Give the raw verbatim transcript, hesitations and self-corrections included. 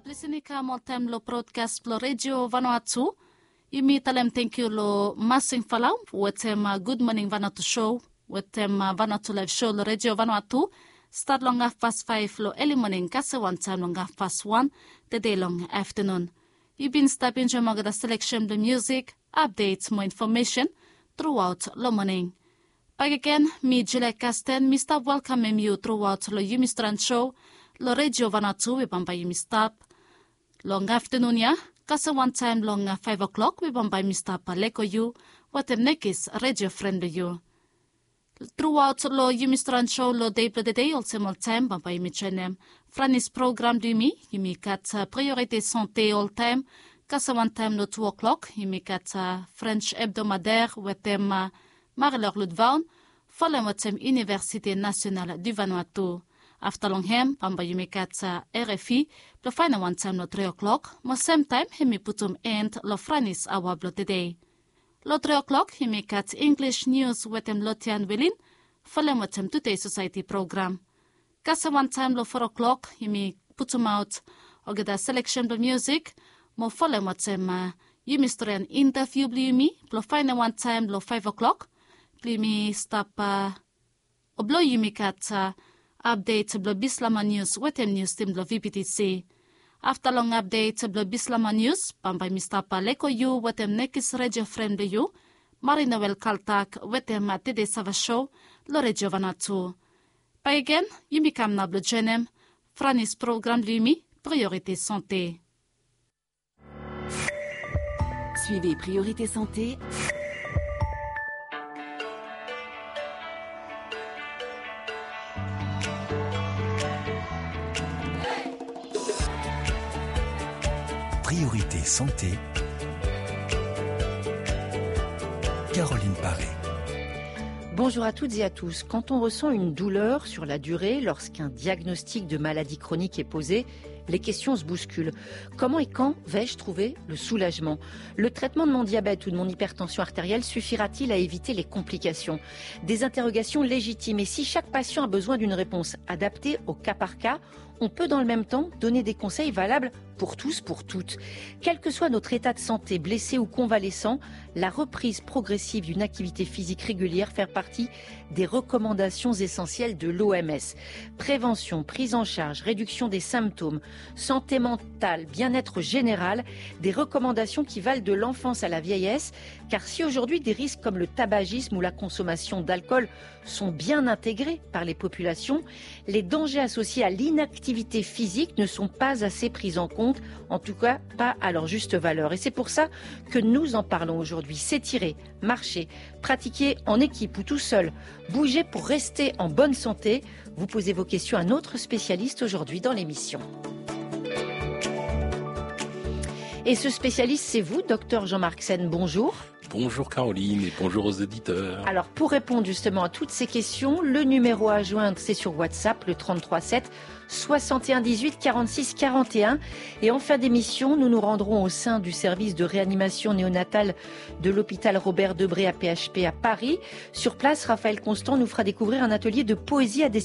Lisin i kam oltaem lo brodkas blo Redio Vanuatu. Yumi talem tangkiu lo Masing Falau wetem Gud Moning Vanuatu Show wetem Vanuatu Laef Show lo Redio Vanuatu. Stat long hafpas faef lo eli moning kasem wantaem long hafpas wan tede long aftanun. Yu bin stap enjoem olgeta seleksen blo musik, apdet mo infomesen truaot lo moning. Bakegen mi Julia Kasten mi stap welkamem yu truaot lo yumi stran show lo Redio Vanuatu we bambae yumi stap long aftanun ya. Kasem wantaem long faef o'klok we bambae yumi stap leko yu wetem nekis redio fren blo yu. Truaot lo yumi stran show lo dei blo tede olsem oltaem bambae yumi joenem Franis program blo yumi. Yumi gat Priorite Sante oltaem. Kasem wantaem lo tu o'klok yumi gat French Hebdomadaire wetem Marie-Laure Ludvaun folem wetem Université Nationale du Vanuatu. Afta long hem bambae yumi gat R F I blo faenem wantaem lo tri o'klok mo semtaem hemi putum end lo Franis aoa blo tede. Lo tri o'klok yumi gat English News wetem Lotian Welin folem wetem Todei Society program. Kasem wantaem lo fo o'klok yumi putumaot olgeta seleksen blo musik mo folem wetem yumi storian interviu blo yumi blo faenem wantaem lo faef o'klok blo yumi stap o blo yumi gat apdet blo Bislama Nius wetem nius tim blo V B T C. Afta long apdet blo Bislama Nius bambae mi stap leko yu wetem nekis redio fren blo yu, Marie-Noëlle Kaltak wetem Tede Sava Show lo Redio Vanuatu. Bakegen yumi kam nao blo joenem Franis program blo yumi Priorite Sante. Suivez Priorité Santé. Priorité Santé. Caroline Paré. Bonjour à toutes et à tous. Quand on ressent une douleur sur la durée, lorsqu'un diagnostic de maladie chronique est posé, les questions se bousculent. Comment et quand vais-je trouver le soulagement ? Le traitement de mon diabète ou de mon hypertension artérielle suffira-t-il à éviter les complications ? Des interrogations légitimes. Et si chaque patient a besoin d'une réponse adaptée au cas par cas, on peut dans le même temps donner des conseils valables pour tous, pour toutes. Quel que soit notre état de santé, blessé ou convalescent, la reprise progressive d'une activité physique régulière fait partie des recommandations essentielles de l'O M S. Prévention, prise en charge, réduction des symptômes, santé mentale, bien-être général, des recommandations qui valent de l'enfance à la vieillesse, car si aujourd'hui des risques comme le tabagisme ou la consommation d'alcool sont bien intégrés par les populations, les dangers associés à l'inactivité physique ne sont pas assez pris en compte, en tout cas pas à leur juste valeur. Et c'est pour ça que nous en parlons aujourd'hui. S'étirer, marcher, pratiquer en équipe ou tout seul, bouger pour rester en bonne santé, vous posez vos questions à notre spécialiste aujourd'hui dans l'émission. Et ce spécialiste, c'est vous, docteur Jean-Marc Sen. Bonjour. Bonjour Caroline et bonjour aux auditeurs. Alors, pour répondre justement à toutes ces questions, le numéro à joindre, c'est sur WhatsApp, le trente-trois sept, soixante et un dix-huit, quarante-six, quarante et un. Et en fin d'émission, nous nous rendrons au sein du service de réanimation néonatale de l'hôpital Robert Debré à P H P à Paris. Sur place, Raphaël Constant nous fera découvrir un atelier de poésie à des